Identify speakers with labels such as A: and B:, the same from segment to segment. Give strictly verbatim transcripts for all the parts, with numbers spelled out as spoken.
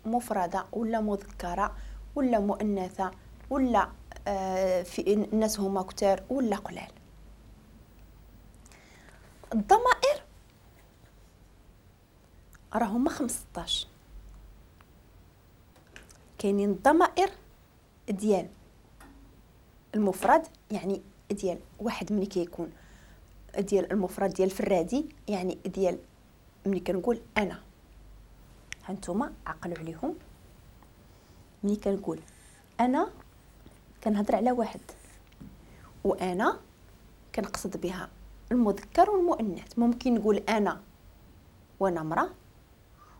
A: مفردة ولا مذكرة ولا مؤنثة ولا آه في الناس هما كتار ولا قلال. الضمائر راهما خمسطاش. كاينين الضمائر ديال المفرد، يعني ديال واحد ملي كيكون ديال المفرد ديال الفرادي، يعني ديال ملي كنقول انا. هانتوما عقلوا عليهم، ملي كنقول انا كنهضر على واحد، وانا كنقصد بها المذكر والمؤنث. ممكن نقول انا وانا امراة،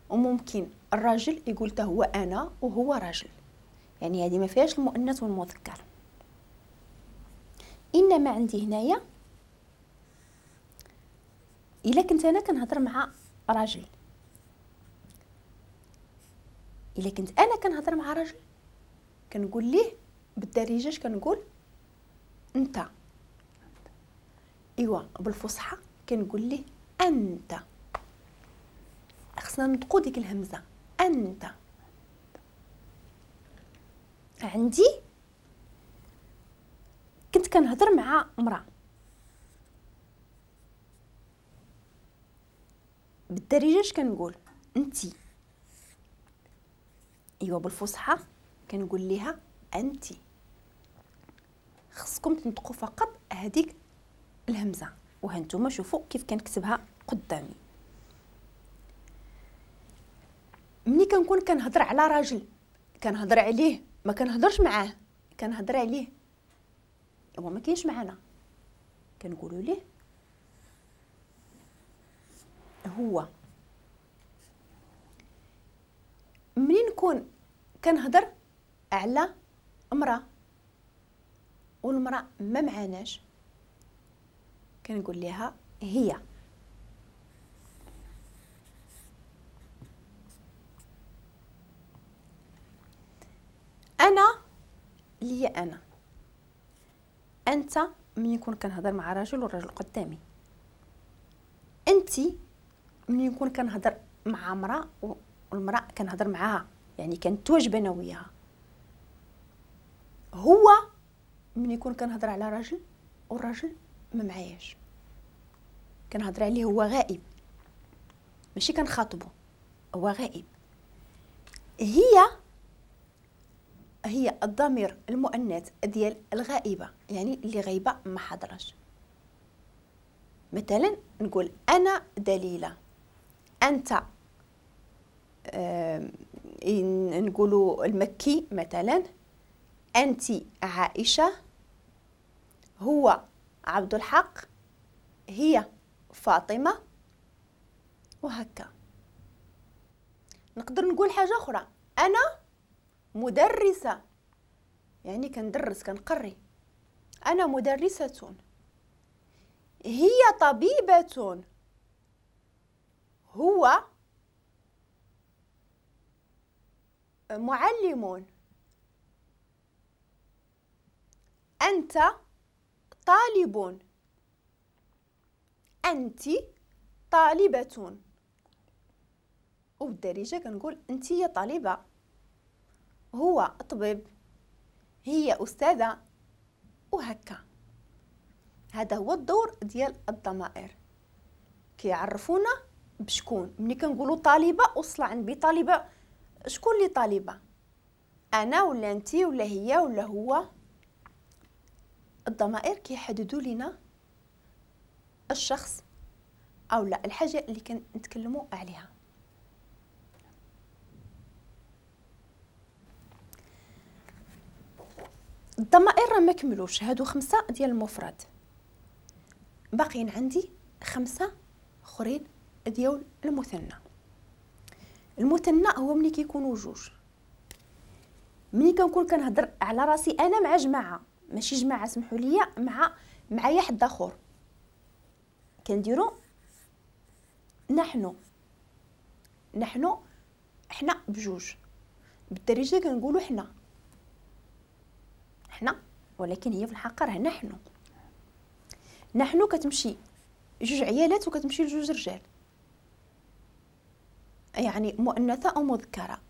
A: وممكن الراجل يقول حتى هو انا وهو راجل، يعني هذه ما فيهاش المؤنث والمذكر. انما عندي هنايا الا كنت انا كنهضر مع راجل، الا كنت انا كنهضر مع راجل كنقول ليه بالدارجة اش كنقول؟ انت. ايوا بالفصحى كنقول ليه انت. خصنا نطقو ديك الهمزة انت. عندي كنت كنهضر مع امراة بالدارجة اش كنقول؟ انتي. ايوا بالفصحى كنقول ليها انتي. خصكم تنطقوا فقط هذيك الهمزة، وهانتوما شوفوا كيف كنكتبها قدامي. ملي كنكون كنهضر على راجل كنهضر عليه، ما كنهضرش معاه، كنهضر عليه هو ما كاينش معنا، كنقولوا ليه هو. ملي نكون كنهضر على امراة والمراة ما معناش كنقول لها هي. انا ليا انا، انت ملي نكون كنهضر مع راجل والراجل قدامي، انت ملي نكون كنهضر مع امراة والمراة كنهضر معاها، يعني كنتواجب انا وياها. هو ملي يكون كنهضر على راجل والراجل ما معاياش كنهضر عليه هو غائب، ماشي كنخاطبه، هو غائب. هي هي الضمير المؤنث ديال الغائبه، يعني اللي غايبة ما حضرش. مثلا نقول انا دليله، انت آه نقولوا المكي مثلا، انت عائشة، هو عبد الحق، هي فاطمة، وهكا. نقدر نقول حاجة اخرى، انا مدرسه، يعني كندرس كنقري، انا مدرسه، هي طبيبه، هو معلم، انت طالب، انت طالبه. وبالدارجه كنقول انت يا طالبه، هو طبيب، هي استاذه، وهكا. هذا هو الدور ديال الضمائر، كيعرفونا بشكون. ملي كنقولوا طالبه وصل عند بطالبه، شكون اللي طالبه؟ انا ولا انت ولا هي ولا هو؟ الضمائر كيحددوا لنا الشخص او لا الحاجة اللي كنتكلموا عليها. الضمائر راه ما كملوش، هادو خمسة ديال المفرد، باقيين عندي خمسة اخرين ديال المثنى. المثنى هو ملي كيكونوا جوج. ملي كنكون كنهضر على راسي انا مع جماعة، ماشي جماعة سمحوا لي، مع معايا حد اخر، كنديروا نحن. نحن حنا بجوج، بالدارجة كنقولوا حنا حنا، ولكن هي في الحقيقة راه نحن. نحن كتمشي جوج عيالات وكتمشي لجوج رجال، يعني مؤنثة او مذكره.